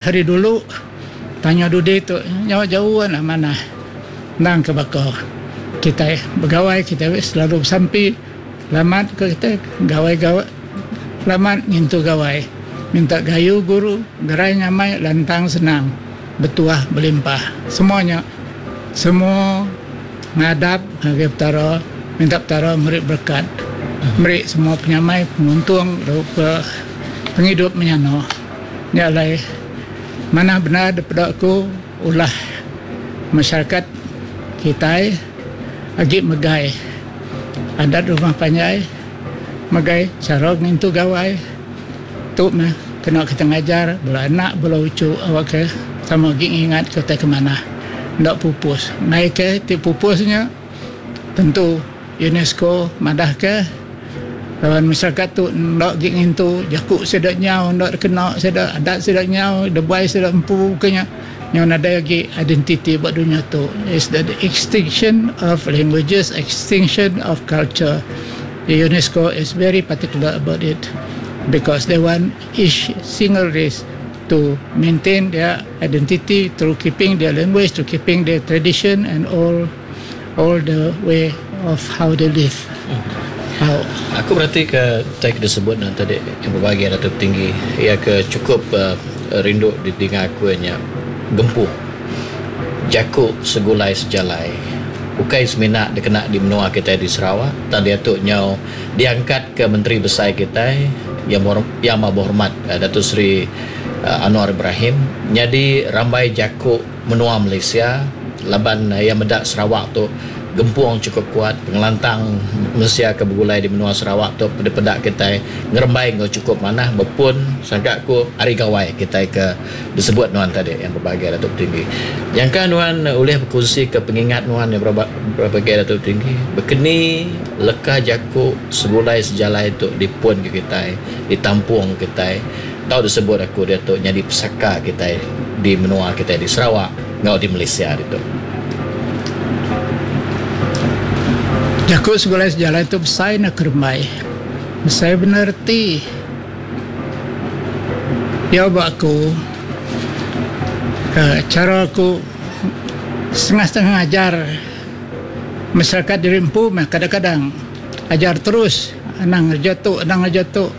Hari dulu tanya dudi tu nyau jauh enda manah endang ke baka kitai begawai kitai selalu besampi selamat ke kitai gawai gawai selamat ngintu gawai minta gayu guru gerai nyamai lantang senang betuah belimpah semua nya semua ngadap ngagai petara minta petara meri berekat meri semua penyamai penguntung lalu pengidup menyana. Nya alai, manah bendar dipeda aku ulah masyarakat kitai agi megai adat rumah panjai, megai chara ngintu gawai. Tu meh kena kita ngajar bala anak bala uchu awakka sama agi ngingatka utai ke manah enda pupus. Enggai ke ti pupus nya tentu. UNESCO madahka laban masyarakat tu enda agi ngintu jaku sida nyau enda dikena sida adat sida nyau debai sida empu ke nya nyau nadai agi identiti ba dunya tu is the extinction of languages extinction of culture UNESCO is very particular about it because they want each single race to maintain their identity through keeping their language through keeping their tradition and all all the way of how they live. How. Aku berati ke utai ke disebut ne tadi yang bebahagia Datuk Tinggi iya ke chukup uh, rindu didinga aku iya nya gempu jaku segulai sejalai ukai semina dikena di menua kitai di Sarawak tang diatu nyau diangkat ke menteri besai kitai yang yang amat berhormat uh, Datuk Seri uh, Anwar Ibrahim nyadi rambai jaku menua Malaysia laban iya meda Sarawak tu gempung chukup kuat, pengelantang mensia ke begulai di menua Sarawak tu dipeda kitai ngerembai enggau chukup manah bepun sangka ku Hari Gawai kitai ke disebut nuan tadi yang berbahagia Datuk Tinggi. Nyangka nuan ulih bekunsika pengingat nuan yang berbahagia Datuk Tinggi bekeni leka jaku segulai sejalai tu dipunka kitai, ditampung kitai. Tau disebut aku diatu nyadi pesaka kitai di menua kitai di Sarawak enggau di Malaysia ditu. Jaku segulai sejalai tu besai enda kerembai. Besai bendar reti. Iya ba aku chara aku setengah-setengah ngajar masyarakat diri empu meh kadang-kadang ajar terus anang ngereja tu anang ngereja tu.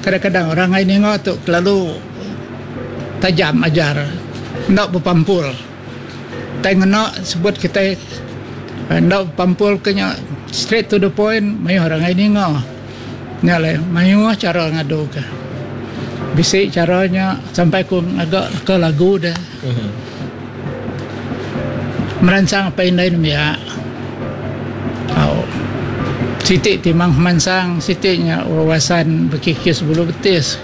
Kadang-kadang orang ai ninga tu kelalu tajam ajar enda bepampul. Tai ngena sebut kitai enda bepampul ke nya straight to the point mayuh orang ai ninga. Nya alai mayuh chara ngadu ke. Bisi chara nya sampai ku ngaga leka lagu deh. Meransang apai indai nembiak. Au. Siti ti mang pemansang, siti nya wawasan bekikis bulu betis.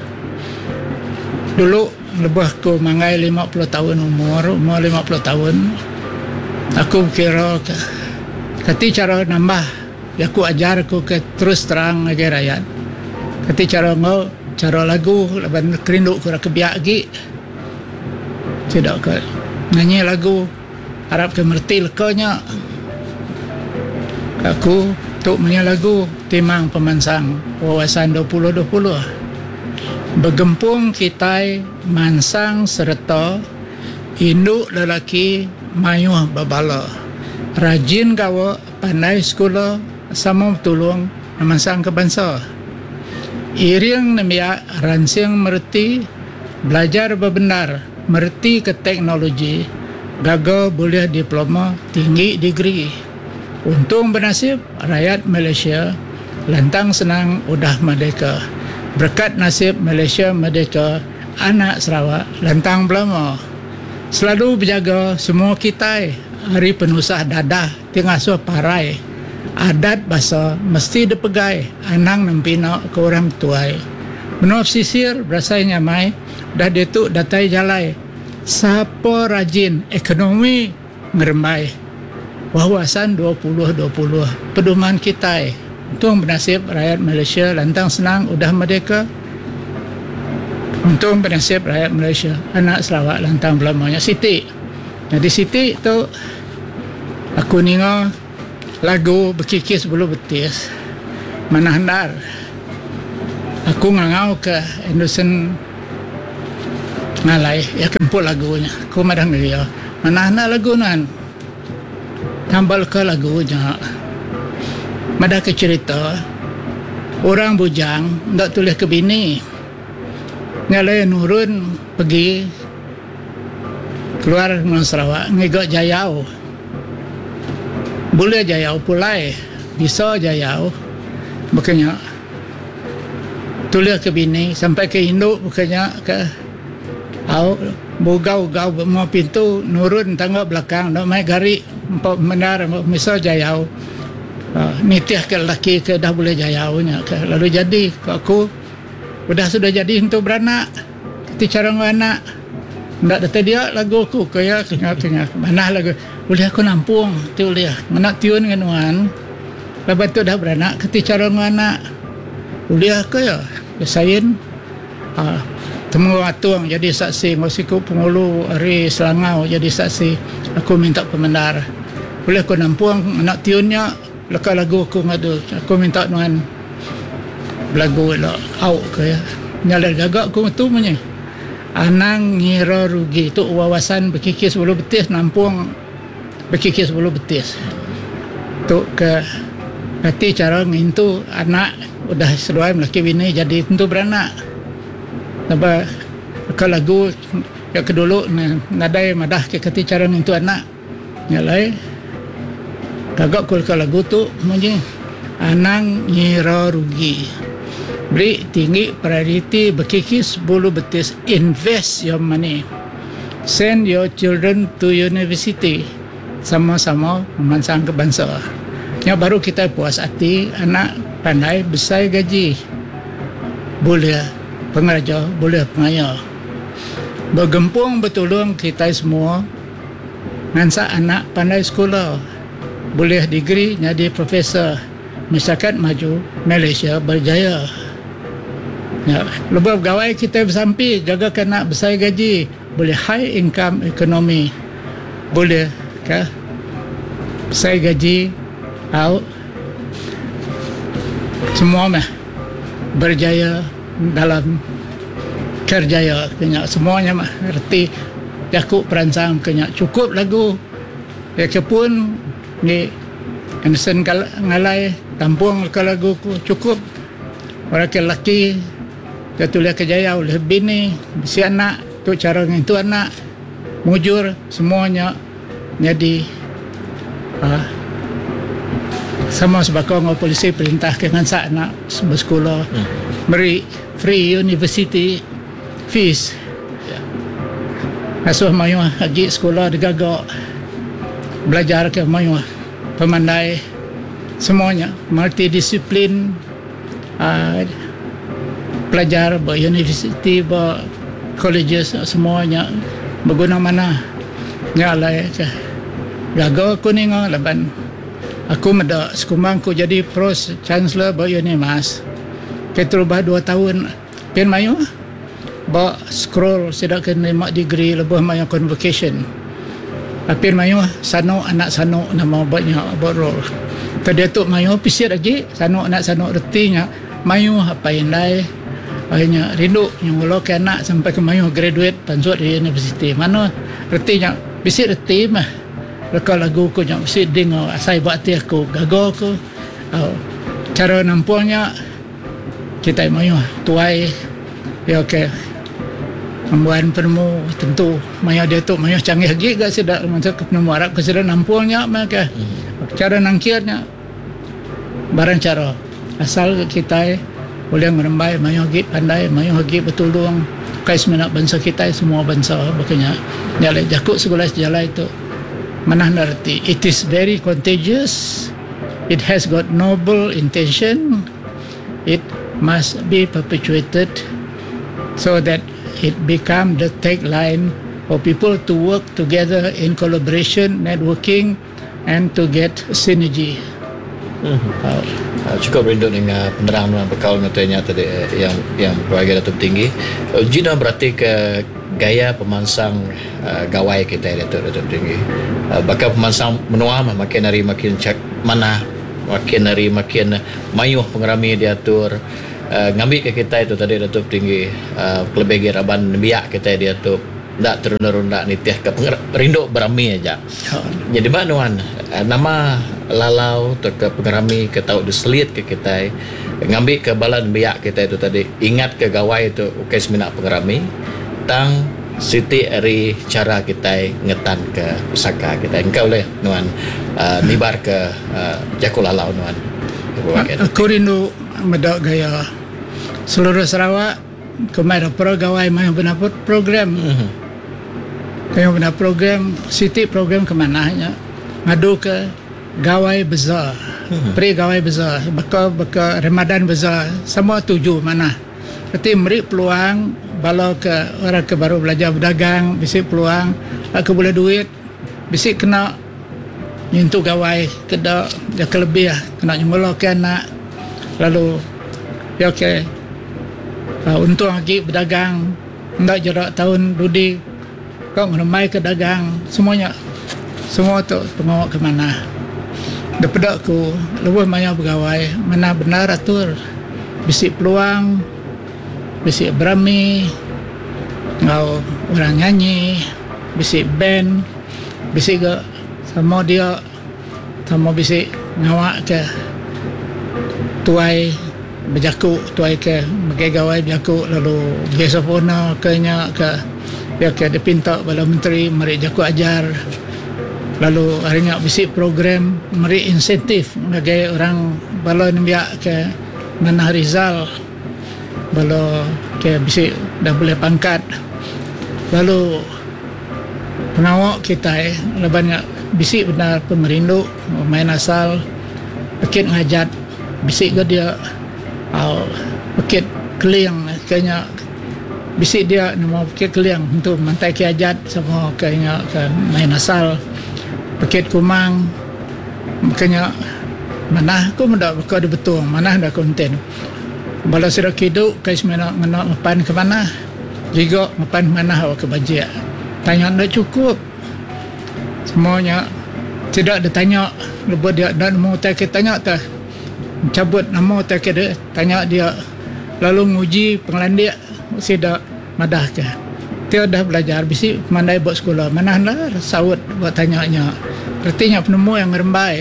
Dulu lebuh aku manggai 50 taun umur, umur 50 taun, aku bekira ke kati chara nambah jaku ajar aku ke terus terang ngagai rayat. Kati chara enggau chara lagu laban kerindu ku ira ke biak agi. Sida ke nyanyi lagu arap ke mereti leka nya. Aku tu menya lagu Timang Pemansang Wawasan 2020. Begempung kitai mansang sereta indu lelaki mayuh bebala. Rajin gawa pandai sekula sama betulung ngemansangka bansa. Iring nembiak ransing mereti Belajar bebendar meretika teknologi gaga bulih diploma tinggi degree. Untung benasib rayat Malaysia lantang senang udah merdeka. Berekat nasib Malaysia merdeka anak Sarawak lantang belama. Selalu bejaga semua kitai ari penusah dadah ti ngasuh parai. Adat basa mesti dipegai anang nempina ke orang tuai. Menua pesisir berasai nyamai udah diatu datai jalai. Sapa rajin ekonomi ngerembai. Wawasan 2020 peduman kitai. Untung benasib rayat Malaysia lantang senang udah merdeka. Untung benasib rayat Malaysia anak Sarawak lantang belama nya siti. Nyadi siti tu aku ninga lagu bekikis bulu betis manah endar. Aku ngangau ke Anderson. Ngalai iya ke empu lagu nya. Ku madah ngagai iya, Manah enda lagu nuan. Tambah leka lagu nya madah ke cherita orang bujang enda tulih ke bini. Nya alai nurun pegi keluar menua Sarawak ngiga jayau. Bulih jayau pulai bisa jayau baka nya. Tulih ke bini sampai ke indu baka nya ke au begau gau ba mua pintu nurun tangga belakang enda mai gari empa bendar misa jayau nitih ke lelaki ke dah bulih jayau nya ke lalu jadi ku aku udah sudah jadi entu beranak ti chara enggau anak enda datai dia lagu aku ku iya manah lagu ulih aku nampung ti ulih ngena tiun ngan nuan. Laban tu dah beranak keti chara enggau anak ulih ke iya besain uhh Temenggung Atung jadi saksi enggau siku pengulu ari Selangau jadi saksi aku minta pemendar ulih ku nampung ngena tiun nya leka lagu aku ngadu aku minta nuan belagu ila au ke iya. Nya alai gaga ku ngetu meh nya anang ngira rugi tu wawasan bekikis bulu betis nampung. Bekikis bulu betis tu ke reti chara ngintu anak udah seduai melaki bini jadi tentu beranak. Laban baka lagu ya ke dulu ne nadai madah ke kati chara ngintu anak. Nya alai gaga ku leka lagu tu munyi anang ngira rugi. Beri tinggi prioriti bekikis bulu betis invest your money. Send your children to university sama-sama ngemansangka bansa. Nya baru kitai puas ati anak pandai besai gaji bulih pengeraja bulih pengaya. Begempung betulung kitai semua ngansak anak pandai sekula bulih degree nyadi professor. Masyarakat maju, Malaysia berjaya. Nya, lebuh begawai kitai besampi jaga ke anak besai gaji, bulih high income ekonomi, bulih ke besai gaji au semua meh berjaya dalam kerjaya ke nya semua nya meh reti jaku peransang ke nya chukup lagu ya ke pun Enggi Anderson ngalai tampung leka lagu ku chukup orang ke lelaki ke tulih ke jaya ulih bini bisi anak tu chara ngintu anak mujur semua nya nyadi uhh sama sebaka enggau polisi perintah ke ngansak anak besekula meri free university fees ngasuh mayuh agi sekula digaga belajar ke mayuh pemandai semua nya multidisiplin uhh pelajar ba universiti ba colleges semua nya beguna manah nya alai ke gaga ku ninga laban aku meda sekumbang ku jadi pro chancellor ba unimas keterubah dua taun. Pin mayuh ba scroll sida ke nerima degree lebuh maya convocation. Apin mayuh sanu anak sanu nama ba nya ba roll. Ke diatu mayuh pisit agi sanu anak sanu reti nya mayuh apai indai ai nya rindu nyengula ke anak sampai ke mayuh graduate pansut ari universiti. Mano reti nya bisi reti meh leka lagu ku nya bisi dinga asai ba ati aku gaga ku au chara nampung nya. Kitai mayuh tuai iya ke ngembuan penemu tentu maya diatu mayuh canggih agi ga sida mansut ke penemu arap ke sida nampung nya meh ke chara nangkir nya barang chara asal ga kitai ulih ngerembai mayuh agi pandai mayuh agi betulung ukai semina bansa kitai semua bansa baka nya. Nya alai jaku segulai sejalai tu manah enda reti it is very contagious it has got noble intention. It must be perpetuated so that it become the tagline for people to work together in collaboration, networking and to get synergy. Mm-hmm. Cukup rindu ninga penerang nuan bekaul enggau nya tadi yang yang berbagai Datuk Tinggi. Uji nuan berati ke gaya pemansang gawai kitai diatu Datuk Tinggi. Baka pemansang menua mah makin hari makin manah. Makin hari makin mayuh pengerami diatur. Ngambika kitai tu tadi Datuk Tinggi kelebih agi raban nembiak kitai diatu enda terunda-runda nitihka pengerindu berami aja. Nyadi ba nuan nama lalau tauka pengerami ke tau diselitka kitai ngambika bala nembiak kitai tu tadi ingatka gawai tu ukai semina pengerami tang siti ari chara kitai ngetanka pesaka kitai. Engka ulih nuan nibarka jaku lalau nuan. Aku rindu meda gaya seluruh Sarawak ke mai dapur gawai mayuh bendar program. Mayuh bendar program siti program ke manah nya ngadu ke gawai beza pre gawai beza baka baka Ramadan beza semua tuju manah. Reti meri peluang bala ke orang ke baru belajar bedagang bisi peluang ke bulih duit bisi kena ngintu gawai ke da ke lebih kena nyengula ke anak lalu pia ke untung agi bedagang enda jera taun dudi ka ngerembai ke dagang semua nya semua tu pengawa ke manah. Da peda ku lebuh maya begawai manah bendar atur bisi peluang bisi berami enggau orang nyanyi bisi band. Bisi ga sama dia sama bisi ngawa ke tuai bejaku tuai ke megai gawai bejaku lalu guest of honour ke nya ke pia ke dipinta bala menteri meri jaku ajar lalu hari nya bisi program meri insentif ngagai orang bala nembiak ke manah result bala ke bisi dah bulih pangkat lalu. Pengawa kitai laban nya bisi bendar pengerindu main asal pekit ngajat bisi ga dia au pekit keling ke nya bisi dia nemu pekit keling entu mantai ke ajat sama ke nya ke main asal pekit kumang ke nya manah ku meda baka di Betong manah da konten bala sida kidu kai semina ngena ngepan ke manah. Giga ngepan manah awakka bajik. Tanya enda chukup. Semua nya sida ditanya lebuh dia enda nemu utai ke tanya teh. Enchabut nama utai ke ditanya dia lalu nguji pengelandik sida madahka. Ti udah belajar bisi pemandai ba sekula manah enda saut ba tanya nya. Reti nya penemu iya ngerembai.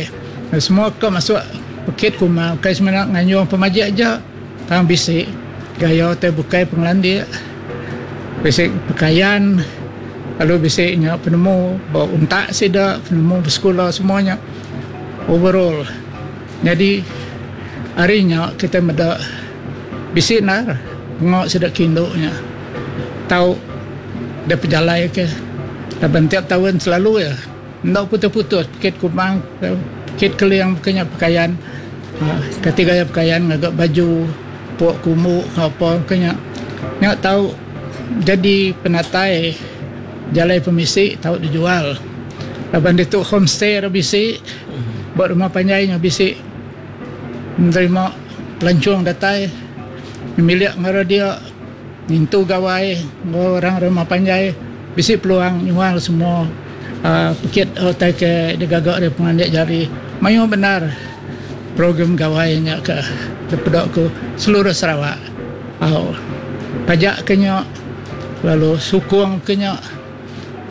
Semua ke masuk pekit kuma ukai semina nganjung pemajik aja. Tang bisi gaya utai bukai pengelandik, bisi pekayan lalu bisi nya penemu ba untak sida, penemu besekula semua nya overall. Nyadi ari nya kitai meda bisi endar pengawa sida ke indu nya tau dipejalaika laban tiap taun selalu iya. Enda putus-putus pekit kumang, pekit keling baka nya pekayan. Kati gaya pekayan ngaga baju, puk kumbu enggau apa baka nya. Nya tau jadi penatai jalai pemisi tau dijual. Laban ditu homestay ira bisi, ba rumah panjai nya bisi nerima pelancong datai nyemilik enggau ira dia ngintu gawai enggau orang rumah panjai. Bisi peluang nyual semua pekit utai ke digaga ari pengelandik jari. Mayuh bendar program gawai nya ke dipeda ku seluruh Sarawak. Au pajak ke nya lalu sukung ke nya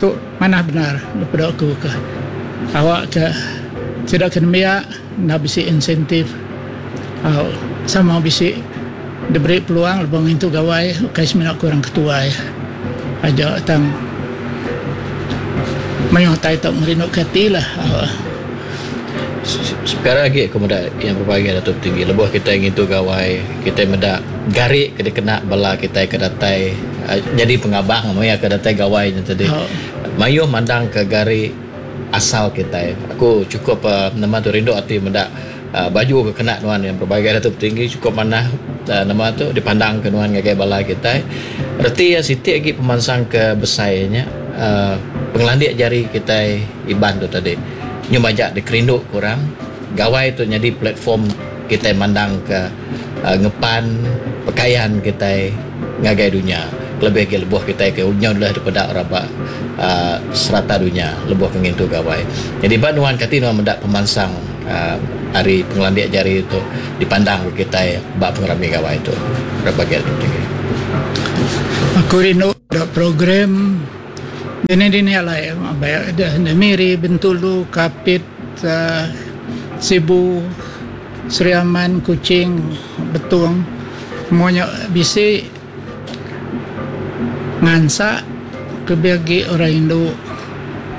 tu manah bendar dipeda ku ke awak ke sida ke nembiak enda bisi insentif au sama bisi diberi peluang lebuh ngintu gawai ukai semina ku orang ketuai. Aja tang mayuh utai tu ngerinduka ati lah. Sekara agi aku meda yang berbagi Datuk Tinggi lebuh kitai ngintu gawai kitai meda gari ke dikena bala kitai ke datai nyadi pengabang maya ke datai gawai nya tadi mayuh mandang ke gari asal kitai. Aku chukup nama tu rindu ati meda Baju ke kena nuan yang berbagai Datuk Petinggi chukup manah nama tu dipandang ke nuan ngagai bala kitai. Reti iya siti agi pemansang ke besai nya uhh pengelandik jari kitai Iban tu tadi. Nyu majak dikerindu ke orang. Gawai tu nyadi platform kitai mandang ke ngepan pekayan kitai ngagai dunya. Kelebih agi lebuh kitai ke nyau dulih dipeda orang ba uhh serata dunya lebuh ke ngintu gawai. Nyadi ba nuan kati nuan meda pemansang. Ari pengelandik jari tu dipandang ke kitai ba pengerami gawai tu. Berapa agi tu tinggi. Aku rindu da program dini-dini alai ba da Miri, Bintulu, Kapit, Sibu, Sri Aman, Kuching, Betong semua nya bisi ngansak kelebih agi orang indu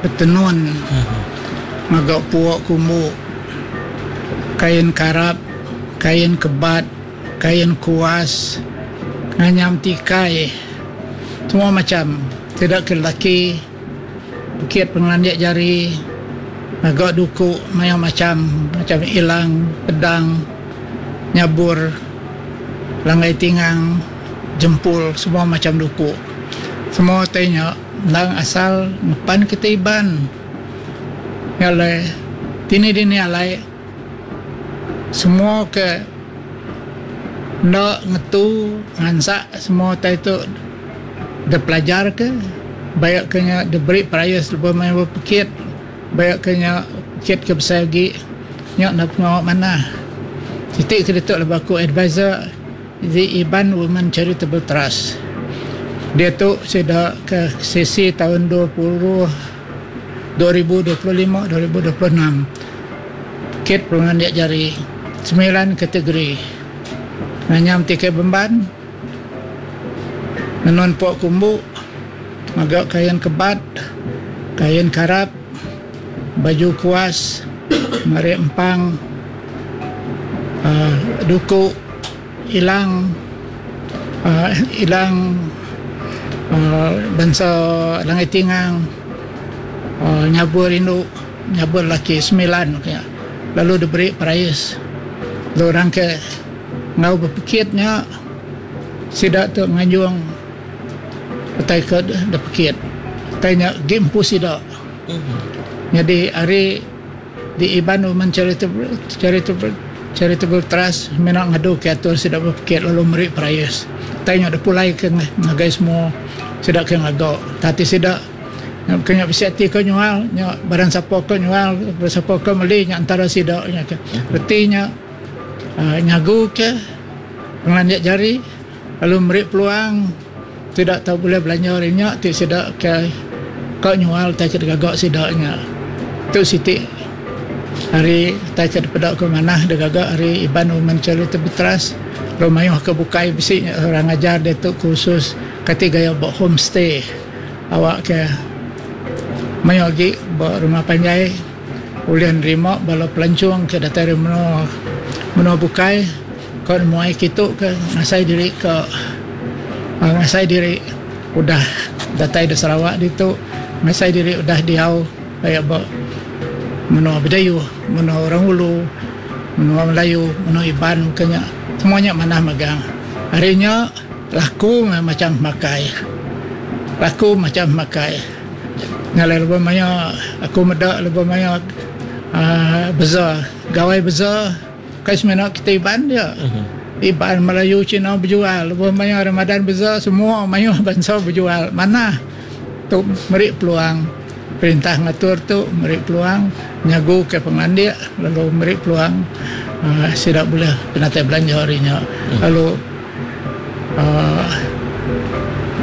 betenun ngaga pua kumbu, kain karap, kain kebat, kain kuas, nganyam tikai semua macam sida ke lelaki pekit pengelandik jari ngaga duku mayuh macam macam ilang, pedang, nyabur. Langgai tingang, jempul semua macam duku. Semua utai nya endang asal ngepan kitai Iban. Nya alai dini dini alai semua ke enda ngetu ngansak semua utai tu dipelajar ke baik ke nya diberi perais lebuh maya bepekit baik ke nya pekit ke besai agi. Nya enda pengawa manah. Siti ke ditu lebuh aku advisor The Iban Women Charitable Trust. Diatu sida ke sesi taun 20 2025 2026 pekit pengelandik jari semilan kategori nganyam tikai bemban, nenun pua kumbu, ngaga kain kebat, kain karap. Baju kuas, marik empang, duku, ilang ilang bansa langai tingang, nyabur indu, nyabur laki semilan ku iya. Lalu diberi perais. Lalu orang ke enggau bepekit nya sida tu nganjung utai ke dipekit. Utai nya agi empu sida. Nyadi ari The Iban Women Charitable Charitable Charitable Trust mina ngadu ke atur sida bepekit lalu meri perais. Utai nya dipulai ke ngagai semua sida ke ngaga. Tang ati sida ke nya bisi ati ke nyual nya barang sapa ke nyual barang sapa ke meli nya entara sida nya ke. Reti nya uhh nyagu ke pengelandik jari lalu meri peluang. Sida tau bulih belanja ari nya ti sida ke ka nyual utai ke digaga sida nya. Tu siti ari utai ke dipeda ke manah digaga ari Iban Women Charitable Trust lalu mayuh ke bukai bisi orang ngajar diatu kursus kati gaya ba homestay awak ke mayuh agi ba rumah panjai ulih nerima bala pelancong ke datai ari menua menua bukai. Ko nemuai kitu ke ngasai diri ke ngasai diri udah datai da Sarawak ditu ngasai diri udah diau aya ba menua Bidayuh, menua Orang Ulu, menua Melayu, menua Iban ke nya semua nya manah megang. Ari nya laku meh macam pemakai. Laku macam pemakai. Ngalai lebuh maya aku meda lebuh maya uhh beza gawai beza. Kai semina kitai Iban dia. Iban, Melayu, Cina bejual. Lebuh maya Ramadan beza semua mayuh bansa bejual. Manah tu meri peluang perintah ngatur tu meri peluang nyagu ke pengelandik lalu meri peluang uhh sida bulih penatai belanja ari nya. Lalu uhh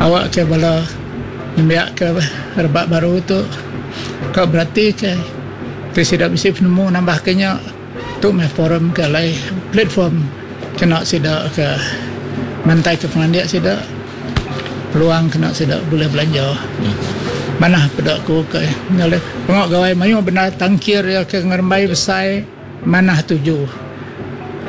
awak ke bala nembiak ke rebak baru tu ka berati ke ti sida bisi penemu nambah ke nya. Tu meh forum ke alai platform kena sida ke mantai ke pengelandik sida peluang kena sida bulih belanja. Manah peda ku ke nyadi pengawa gawai mayuh bendar tangkir iya ke ngerembai besai manah tuju.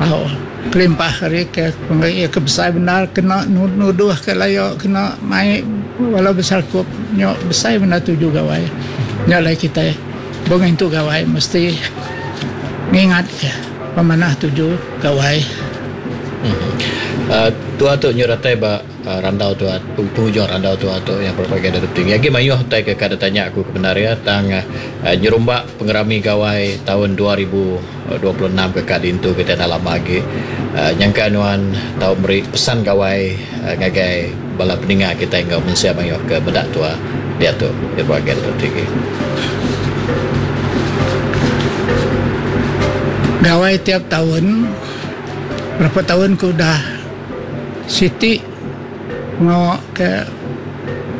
Au kelimpah ari ke iya ke besai bendar kena nuduh ke layo kena mai bala beserakup nyo besai bendar tuju gawai. Nya alai kitai. Bung intu gawai mesti ngingat ke pemanah tuju gawai. Tua tu nyu datai ba randau tua pengujung randau tua tu yang berbagai da tinggi agi mayuh utai ke ka ditanya aku ke bendar iya tang nyerumba pengerami gawai taun 2026 ke ka diintu kitai enda lama agi nyangka nuan tau meri pesan gawai ngagai bala peninga kitai enggau mensia mayuh ke meda tua diatu di bahagian tu tinggi. Gawai tiap taun, berapa taun ke udah siti pengawa ke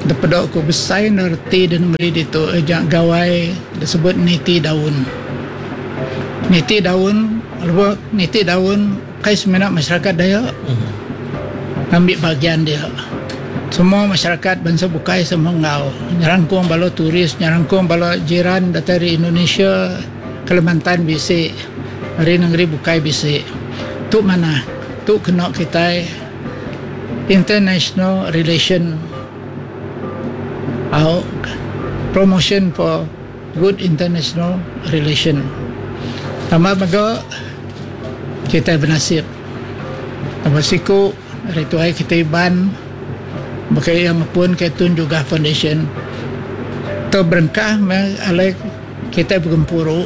dipeda ku besai enda reti da nengeri ditu nya gawai disebut niti daun. Niti daun, lebuh niti daun ukai semina masyarakat Dayak ngambi bahagian dia. Semua masyarakat bansa bukai sama enggau nyerangkung bala tourist, nyerangkung bala jiran datai ari Indonesia. Kalimantan bisi, ari nengeri bukai bisi. Tu manah, tu kena kitai international relation au promotion for good international relation. Tambah mega kitai benasib tambah siku ari tuai kitai Iban baka iya ngepun ke Tun Jugah Foundation tu berengkah meh alai Kitai begempuru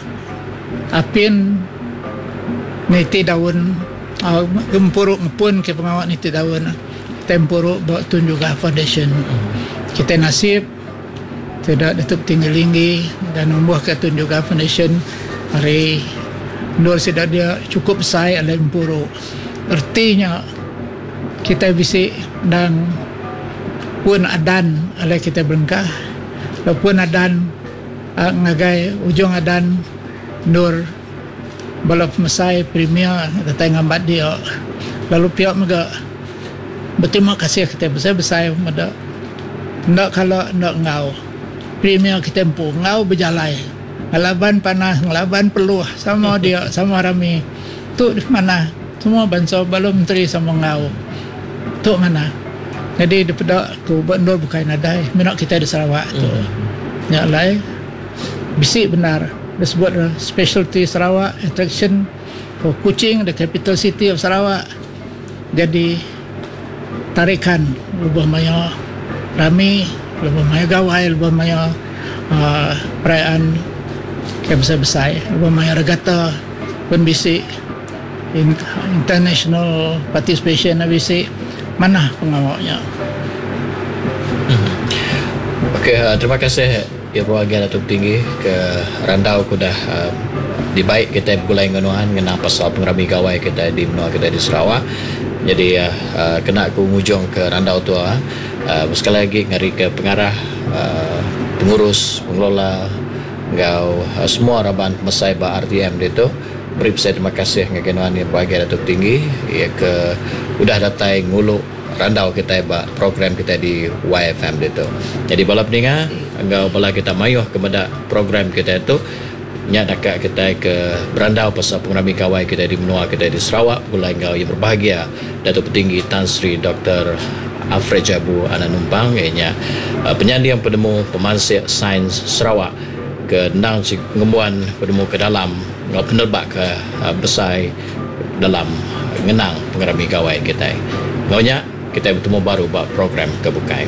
apin niti daun gempuru ngepun ke pengawa niti daun kitai empuru ba Tun Jugah Foundation. Kitai nasib sida ditu Tinggi Linggi dan numbuhka Tun Jugah Foundation ari endur sida dia chukup besai alai empuru. Reti nya kitai bisi endang pun adan alai kitai berengkah lalu pun adan Ngagai ujung adan endur bala pemesai premier datai ngambat dia lalu pia mega beterima kasih kitai besai-besai meda enda kala enda enggau premier kitai empu enggau bejalai ngelaban panas ngelaban peluh sama dia sama rami tu manah semua bansa bala menteri sama enggau tu manah. Nyadi dipeda ku ba endur bukai nadai mina kitai di Sarawak tu. Nya alai bisi bendar disebut specialty Sarawak attraction for Kuching the capital city of Sarawak jadi tarikan lebuh maya rami lebuh maya gawai lebuh maya uhh perayaan ke besai-besai lebuh maya regata pun bisi. International participation nya bisi manah pengawa nya. Okey terima kasih Ibu agi Datuk Tinggi ke randau ke udah dibai kitai begulai enggau nuan ngena pasal pengerami gawai kitai di menua kitai di Sarawak. Nyadi kena ku ngujung ke randau tu sekali agi ngari ke pengarah pengurus pengelola enggau semua raban pemesai ba RTM ditu. Meri besai terima kasih ngagai nuan iya bebagai Datuk Tinggi iya ke udah datai ngulu randau kitai ba program kitai di YFM ditu. Nyadi bala peninga enggau bala kita mayuh ke meda program kitai tu nya deka kitai ke berandau pasal pengerami gawai kitai di menua kitai di Sarawak begulai enggau iya berbahagia Datuk Petinggi Tan Sri Doktor Alfred Jabu Anak Numpang iya nya penyanding penemu pemansik sains Sarawak ke endang ngembuan penemu ke dalam enggau peneleba ke besai dalam ngenang pengerami gawai kitai. Enggau nya, kitai betemu baru ba program ke bukai.